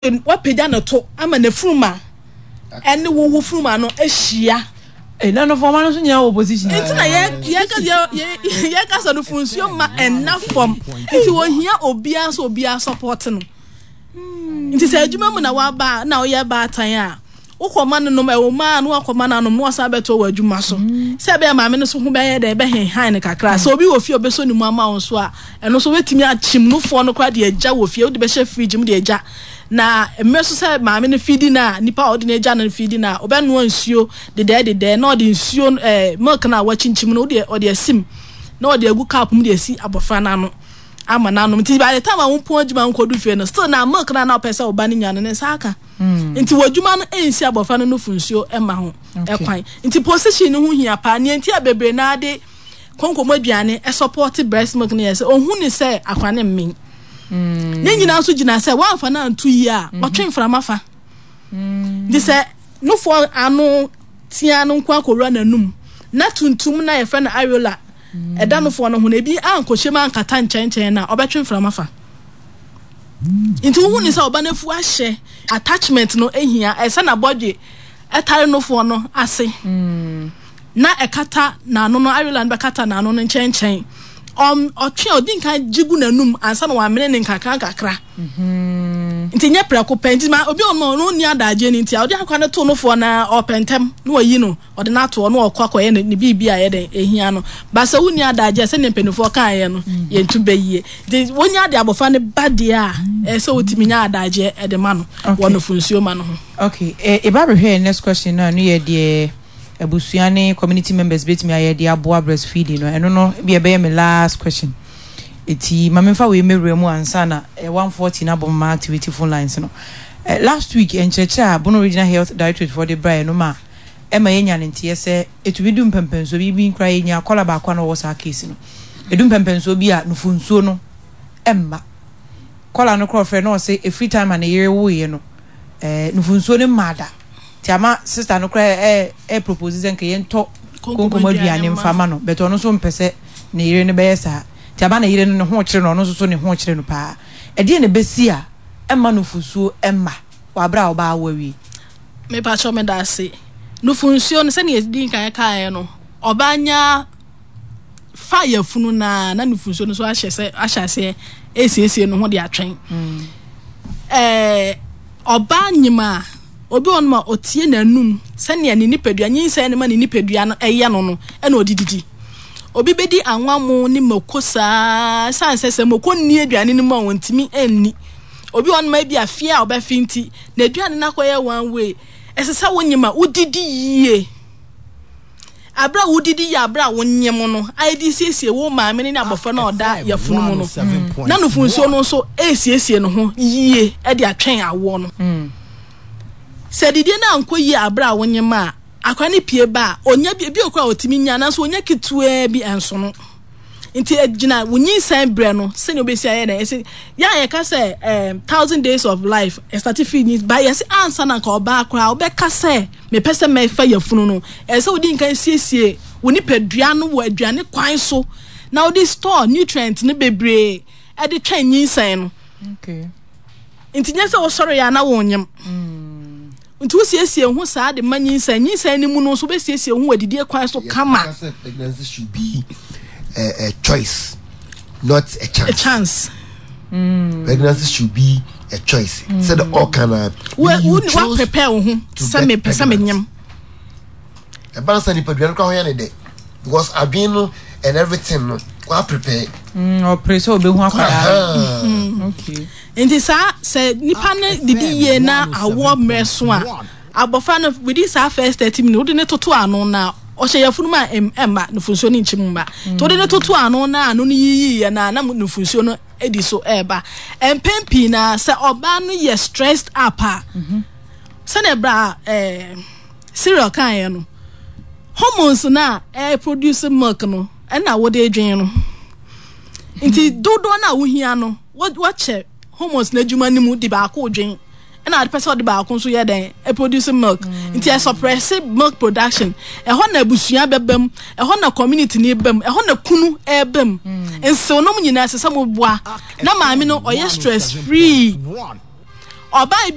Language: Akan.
Wapagya ne to ama n'afuruma ne wo wo furuma no ahyia. Ɛna no fɔma no nso nyinaa wɔ position. Nti na yɛ yɛ yɛ yɛ kasa no funsuo ma ɛna fam. Nti wɔhia obiara sɛ obiara support no. Nti sɛ adwuma mu na waba na woyɛ baatan a, wokɔma no nom ɛwɔ mu a na wakɔma no anom na wasan abɛto wɔ adwuma so. Sɛ ɛbɛyɛ maame no so ho bɛyɛ dɛ ɛbɛhenhan no kakra. Sɛ obi wɔ fie a ɔbɛsɔ ne mu ama wo nso a, ɛno nso wobɛtumi akyim nufoɔ no koraa de agya wɔ fie, wode bɛhyɛ fridge mu de agya. Na mmerɛ so sɛ maame no feedi no a, nipa a ɔde no agya no feedi no a, ɔbɛnoa nsuo dedɛɛ dedɛɛ na ɔde nsuo ɛɛ milk no a wakyinkyim no wode ɔde asim na ɔde agu cup mu de asi abɔfra no ano ama no anom. Nti by the time a wompɔn adwuma nkɔdu fie no, still na milk no a na wopɛ sɛ wo ba no nya no ne nsa aka. Nti wɔ adwuma no ɛnsi abɔfra no nufu nsuo mma ho kwan. Nti position no ho hia paa. Nea nti a bebree naa de konkomu aduane sɔpɔte breast milk no yɛ sɛ ohun ne sɛ akora no mmen. Ne nyinaa nso gyina sɛ woamfa no anto yie a, ɔtwe mframa fa. Nti sɛ nufoɔ ano tea no nko akɔwura n'anum na tuntum na yɛfrɛ no areola ɛda nufoɔ no ho no ebi ankɔhyɛ mu ankata nkyɛnkyɛn no a, ɔbɛtwe mframa fa. Nti wohu ne sɛ ɔba no afu ahyɛ attachment no ehia ɛsɛ na bɔdwe ɛtare nufoɔ no ase. Na ɛkata n'ano no, areola no bɛkata n'ano no nkyɛnkyɛn. Ɔm, ɔtwe a ɔdi nkan gye gu n'anum ansa na wamene ne nkakra nkakra. Mm-hmm. Nti nyɛ prɛko pɛ. Nti ma obi ɔno ɔno nni adagye no nti a ɔde akwa no to nofoɔ na ɔpɛ ntɛm na wayi no, ɔde no ato hɔ na ɔkɔ akɔyɛ ne, ne biribi a ɛyɛ dɛn ehia no. Ba sɛ wonni adagye a sɛdeɛ mpanimfoɔ kaeɛ no, mm-hmm. yɛntu bɛyie. Nti wonya de abɔfra no ba deɛ a, ɛsɛ sɛ wotumi nya adagyeɛ de ma no wɔ nufunsuo ma no ho. Okay, eba bɛhwɛ next question no a, ɛno yɛ deɛ abusua ne community members bɛtumi ayɛ de aboa breastfeeding no, ɛno no bi ɛbɛyɛ me last question. Eti ma memfa wei mmɛwura mu ansa na 1:40 no abɔ ma activate phone lines no. Last week nkyerɛkyerɛ a Bono Regional Health Directorate foɔ de braeɛ no ma ɛma yɛnya ne nteɛ sɛ ɛtumi du mpɛmpɛnsoɔ bi, bi koraa yɛnya kɔla baako a na ɔwɔ saa case no. Ɛdu mpɛmpɛnsoɔ bi a nufonsuo no ɛmma. Kɔla no korɔ frɛ na ɔse ɛfiri time a ne yere woeɛ no nufonsuo no mmaa da. Nti ama sister no koraa ɛ ɛ propose sɛ nka yɛntɔ konkom aduane mfa ma no but ɔno nso mpɛ sɛ ne yere no bɛyɛ saa. Nti ama ne yere no ne ho kyere no, ɔno nso so ne ho kyere no paa. Ɛdeɛn na ɛbɛsi a ɛmma nufusuo mma wɔ aberɛ a ɔbaa awo awie? Mepakyɛw meda ase. Nufunsuo no sɛnea yɛdii kan kaeɛ no, ɔbaa nya fa yafunu no ara na nufunsuo no nso ahyɛ sɛ ahyɛ aseɛ resiesie ne ho de atwɛn. Ɛɛ ɔbaa nyim a, obi wɔ nom a ɔtie n'anum sɛnea ne nipadua nyinsɛn no ma ne nipadua no ɛyɛ no no ɛna ɔde didi. Obi bɛdi anwammo ne mako saa ɛsiane sɛ sɛ mako nni aduane no mu a ɔntumi nni. Obi wɔ nom a ebi afie a ɔbɛfe nti n'aduane no akɔyɛ one way. Ɛsɛ sɛ wonyim a wodidi yie. Bere a wudidi yɛ bere a wonyem no a de siesie wo maame no ne abofra no a ɔda yafunu mu no, na nufunsuo no nso resiesie ne ho yie de atwɛn awoɔ no. Sɛ didie no ankɔ yie bere a wonyem a, akwadaa no pue ba a, ɔnya bi, ebi wɔ koraa a ɔtumi nya nanso ɔnya ketewaa bi nso no. Nti egyina wo nyinsɛn berɛ no sɛnea wobɛsi ayɛ dɛn ɛsɛ yɛ a yɛka sɛ 1,000 days of life ɛstate firi nyi ba yɛsɛ ansa na nka ɔbaa koraa wobɛka sɛ mepɛ sɛ mɛfa yafunu no, ɛsɛ sɛ wodi nkan siesie wo nipadua no wɔ aduane kwan so na wode store nutrient no bebree ɛde twɛn nyinsɛn no. Nti nyɛ sɛ wosɔre yɛ a na wonyem. Nti wosiesie ho saa de ma nyinsɛn. Nyinsɛn no mu no nso wobɛsiesie ho wɔ adidie kwan so kama. Yɛka sɛ pregnancy should be a, a choice, not a chance. A chance. Pregnancy should be a choice. Sɛ de ɔka na. Wo wo wa prepare wo ho sɛ me pɛ sɛ me nyem. Ɛba no sɛ nipadua no kora ho yɛ ne dɛ because adwene no and everything no wa prepare. Ɔpere sɛ ɔbɛhu akwadaa no. Okay. Nti saa sɛ nipa no didi yie na awoɔ mmerɛ so a abɔfra no within saa first 30 minutes wode ne toto ano na ɔhyɛ yafunu mu a ɛmma nufunsuo no nkyim mma. Nti wode ne toto ano na ano no yiyiiɛ na na nufunsuo no di so ɛreba. Mpɛn pii na sɛ ɔbaa no yɛ stressed up a sɛdeɛ bra cereal kaeɛ no hormones no a ɛproduce milk no ɛna wode dwen no. Nti dodoɔ no a wohia no wɔkyɛ hormones no adwuma no mu de baako dwen ɛna ade pɛ sɛ ɔde baako nso yɛ dɛn ɛproduce milk. Nti ɛsuppress milk production. Ɛhɔ na abusua bɛba mu, ɛhɔ na community no ba mu, ɛhɔ na kunu ɛba mu. Nsew nom nyinaa ɛsɛ sɛ moboa na maame no ɔyɛ stress free. Ɔbaa.